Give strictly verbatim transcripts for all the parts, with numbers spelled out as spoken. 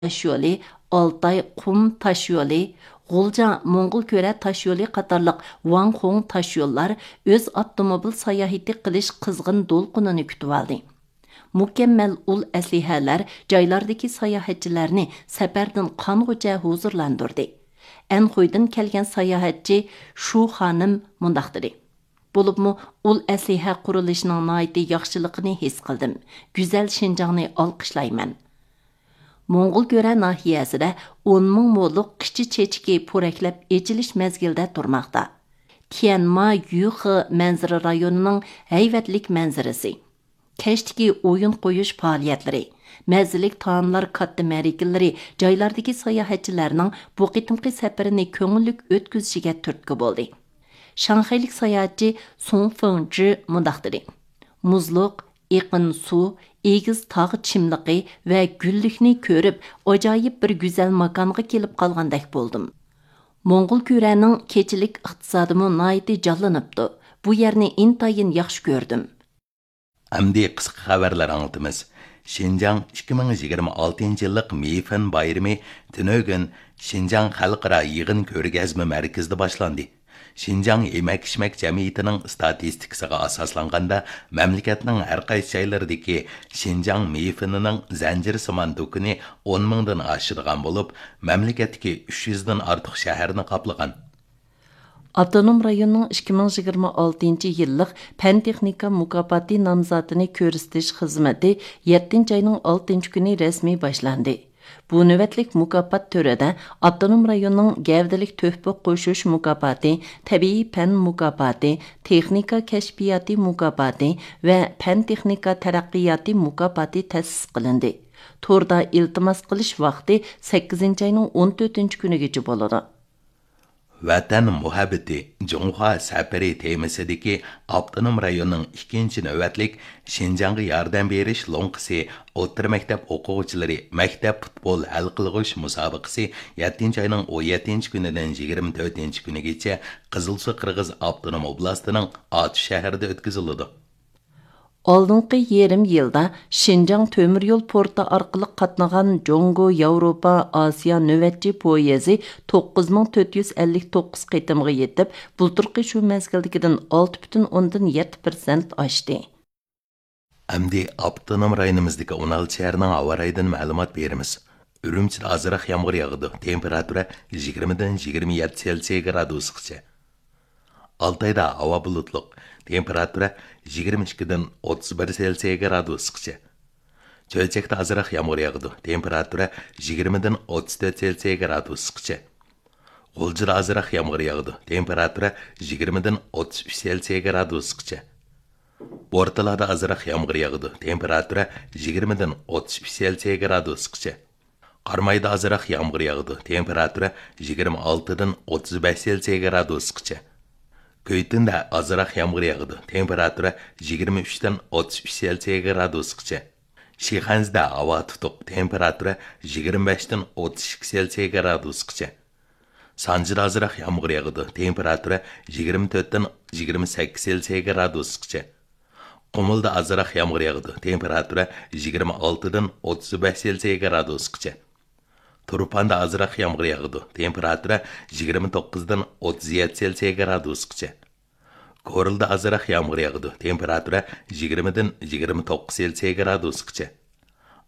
تاشيولى، ئالتاي قۇم تاشيولى، غۇلجا موڭغۇلكۈرە تاشيولى قاتارلىق ۋاڭخۇڭ تاشيوللار ئۆز ئاپتوموبىل ساياھىتى قىلىش قىزغىن دولقۇنىنى كۈتۈۋالدى. مۇكەممەل ئۇل ئەسلىھەلەر جايلاردىكى ساياھەتچىلەرنى سەپەردىن قانغۇچە ھۇزۇرلاندۇردى. ئەنخۇيدىن كەلگەن ساياھەتچى شۇ خانىم مۇنداق دېدى: بولۇپمۇ ئۇل ئەسلىھە قۇرۇلۇشىنىڭ ناھايىتى ياخشىلىقىنى ھېس قىلدىم. گۈزەل شىنجاڭنى ئالقىشلايمەن. موڭغۇلكۈرە ناھىيەسىدە ئون مىڭ مولۇق قىچا چېچىكى پورەكلەپ ئېچىلىش مەزگىلىدە تۇرماقتا. تيەنما يۈخې مەنزىرە رايونىنىڭ ھەيۋەتلىك مەنزىرىسى، كەچتىكى ئويۇن قويۇش پائالىيەتلىرى، مەززىلىك تائاملار كاتتا مەرىكىلىرى جايلاردىكى ساياھەتچىلەرنىڭ بۇ قېتىمقى سەپىرىنى كۆڭۈللۈك ئۆتكۈزۈشىگە تۈرتكە بولدى. شاڭخەيلىك ساياھەتچى سۇڭ فېڭجى مۇنداق دېدى: مۇزلۇق، ئېقىن سۇ، ئېگىز تاغ چىملىقى ۋە گۈللۈكنى كۆرۈپ، ئاجايىپ بىر گۈزەل ماكانغا كېلىپ قالغاندەك بولدۇم. موڭغۇلكۈرەنىڭ كېچىلىك ئىقتىسادىمۇ ناھايىتى جانلىنىپتۇ. بۇ يەرنى ئىنتايىن ياخشى كۆردۈم. ئەمدى قىسقا خەۋەرلەر ئاڭلىتىمىز. شىنجاڭ ئىككى مىڭ يىگىرمە ئالتىنچى يىللىق مېيفېن بايرىمى تۈنۈگۈن شىنجاڭ خەلقئارا يىغىن كۆرگەزمە مەركىزىدە باشلاندى. شىنجاڭ يېمەك-ئىچمەك جەمئىيىتىنىڭ ئىستاتىستىكىسىغا ئاساسلانغاندا، مەملىكەتنىڭ ھەر قايسى جايلىرىدىكى شىنجاڭ مېيفېنىنىڭ زەنجىرسىمان دۇكىنى ئون مىڭدىن ئاشىدىغان بولۇپ، مەملىكەتتىكى ئۈچ يۈزدىن ئارتۇق شەھەرنى قاپلىغان. ئاپتونوم رايوننىڭ ئىككى مىڭ يىگىرمە ئالتىنچى يىللىق پەن-تېخنىكا مۇكاپاتى نامزاتىنى كۆرسىتىش خىزمىتى يەتتىنچى ئاينىڭ ئالتىنچى كۈنى رەسمىي باشلاندى. بۇ نۆۋەتلىك مۇكاپات تۈرىدە ئاپتونوم رايوننىڭ گەۋدىلىك تۆھپە قوشۇش مۇكاپاتى، تەبىئىي پەن مۇكاپاتى، تېخنىكا كەشپىياتى مۇكاپاتى ۋە پەن-تېخنىكا تەرەققىياتى مۇكاپاتى تەسىس قىلىندى. توردا ئىلتىماس قىلىش ۋاقتى سەككىزىنچى ئاينىڭ ئون تۆتىنچى كۈنىگىچە بولىدۇ. ۋەتەن مۇھەببىتى، جۇڭخۇا سەپىرى تېمىسىدىكى ئاپتونوم رايوننىڭ ئىككىنچى نۆۋەتلىك شىنجاڭغا ياردەم بېرىش لوڭقىسى ئوتتۇرا مەكتەپ ئوقۇغۇچىلىرى مەكتەپ پۇتبول ھەل قىلغۇچ مۇسابىقىسى يەتتىنچى ئاينىڭ ئون يەتتىنچى كۈنىدىن يىگىرمە تۆتىنچى كۈنىگىچە قىزىلسۇ قىرغىز ئاپتونوم ئوبلاستىنىڭ ئاتۇش شەھىرىدە ئۆتكۈزۈلىدۇ. ئالدىنقى يېرىم يىلدا شىنجاڭ تۆمۈر يول پورتى ئارقىلىق قاتنىغان جۇڭگو ياۋروپا ئاسىيا نۆۋەتچى پويىزى توققۇز مىڭ تۆت يۈز ئەللىك توققۇز قېتىمغا يېتىپ، بۇلتۇرقى شۇ مەزگىلدىكىدىن ئالتە پۈتۈن ئوندىن يەتتە پىرسەنت ئاشتى. ئەمدى ئاپتونوم رايونىمىزدىكى ئون ئالتە شەھەرنىڭ ھاۋا رايىدىن مەلۇمات بېرىمىز. ئۈرۈمچىدە ئازراق يامغۇر ياغىدۇ، تېمپېراتۇرا يىگىرمىدىن يىگىرمە يەتتە سېلسىيە گرادۇسقىچە. ئالتايدا ھاۋا بۇلۇتلۇق، تېمپېراتۇرا يىگىرمە ئىككىدىن ئوتتۇز بىر سېلسىيە گرادۇسقىچە. چۆچەكتە ئازراق يامغۇر ياغىدۇ، تېمپېراتۇرا يىگىرمىدىن ئوتتۇز تۆت سېلسىيە گرادۇسقىچە. غۇلجىدا ئازراق يامغۇر ياغىدۇ، تېمپېراتۇرا يىگىرمىدىن ئوتتۇز ئۈچ سېلسىيە گرادۇسقىچە. بورتالادا ئازراق يامغۇر ياغىدۇ، تېمپېراتۇرا يىگىرمىدىن ئوتتۇز ئۈچ سېلسىيە گرادۇسقىچە. قارامايدا ئازراق يامغۇر ياغىدۇ، تېمپېراتۇرا يىگىرمە ئالتىدىن ئوتتۇز بەش سېلسىيە گرادۇسقىچە. كۈيتۈندە ئازراق يامغۇر ياغىدۇ، تېمپېراتۇرا يىگىرمە ئۈچتىن ئوتتۇز ئۈچ سېلسىيە گرادۇسقىچە. شىخەنزىدە ھاۋا تۇتۇق، تېمپېراتۇرا يىگىرمە بەشتىن ئوتتۇز ئىككى سېلسىيە گرادۇسقىچە. سانجىدا ئازراق يامغۇر ياغىدۇ، تېمپېراتۇرا يىگىرمە تۆتتىن يىگىرمە سەككىز سېلسىيە گرادۇسقىچە. قۇمۇلدا ئازراق يامغۇر ياغىدۇ، تېمپېراتۇرا يىگىرمە ئالتىدىن ئوتتۇز بەش سېلسىيە گرادۇسقىچە. تۇرپاندا ئازراق يامغۇر ياغىدۇ، تېمپېراتۇرا يىگىرمە توققۇزدىن ئوتتۇز يەتتە سېلسىيە گرادۇسقىچە. كورلىدا ئازراق يامغۇر ياغىدۇ، تېمپېراتۇرا يىگىرمىدىن يىگىرمە توققۇز سېلسىيە گرادۇسقىچە.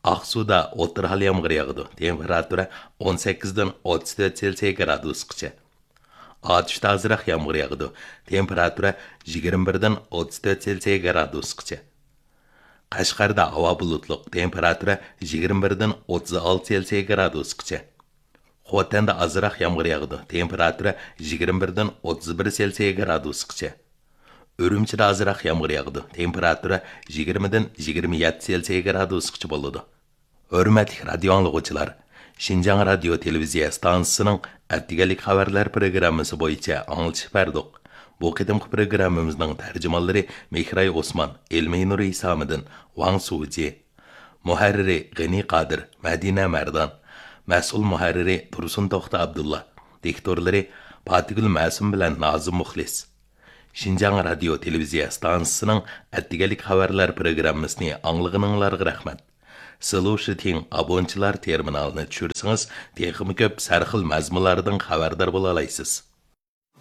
ئاقسۇدا ئوتتۇرا ھال يامغۇر ياغىدۇ، تېمپېراتۇرا ئون سەككىزدىن ئوتتۇز تۆت سېلسىيە گرادۇسقىچە. ئاتۇشتا ئازراق يامغۇر ياغىدۇ، تېمپېراتۇرا يىگىرمە بىردىن ئوتتۇز تۆت سېلسىيە گرادۇسقىچە. قەشقەردە ھاۋا بۇلۇتلۇق، تېمپېراتۇرا يىگىرمە بىردىن ئوتتۇز ئالتە سېلسىيە گرادۇسقىچە. خوتەندە ئازراق يامغۇر ياغىدۇ، تېمپېراتۇرا يىگىرمە بىردىن ئوتتۇز بىر سېلسىيە گرادۇسقىچە. ئۈرۈمچىدە ئازراق يامغۇر ياغىدۇ، تېمپېراتۇرا يىگىرمىدىن يىگىرمە يەتتە سېلسىيە گرادۇسقىچە بولىدۇ. ھۆرمەتلىك رادىيو ئاڭلىغۇچىلار، شىنجاڭ رادىيو تېلېۋىزىيە ئىستانسىسىنىڭ ئەتىگەنلىك خەۋەرلەر پروگراممىسى بويىچە ئاڭلىتىش بەردۇق. بۇ قېتىمقى پروگراممىمىزنىڭ تەرجىمانلىرى مېھراي ئوسمان، ئېلمىنۇر ھېسامىدىن، ۋاڭ سۇجى. مۇھەررىرى غېنى قادىر، مەدىنە مەردان. مەسئۇل مۇھەررىرى تۇرسۇن توختى ئابدۇللا. دىكتورلىرى پاتىگۈل مەسۇم بىلەن نازىم مۇخلىس. شىنجاڭ رادىيو تېلېۋىزىيە ئىستانسىسىنىڭ ئەتىگەنلىك خەۋەرلەر پروگراممىسىنى ئاڭلىغىنىڭلارغا رەھمەت. سلۇشىتىڭ ئابونتچىلار تېرمىنالىنى چۈشۈرسىڭىز، تېخىمۇ كۆپ سەرخىل مەزمۇنلاردىن خەۋەردار بولالايسىز.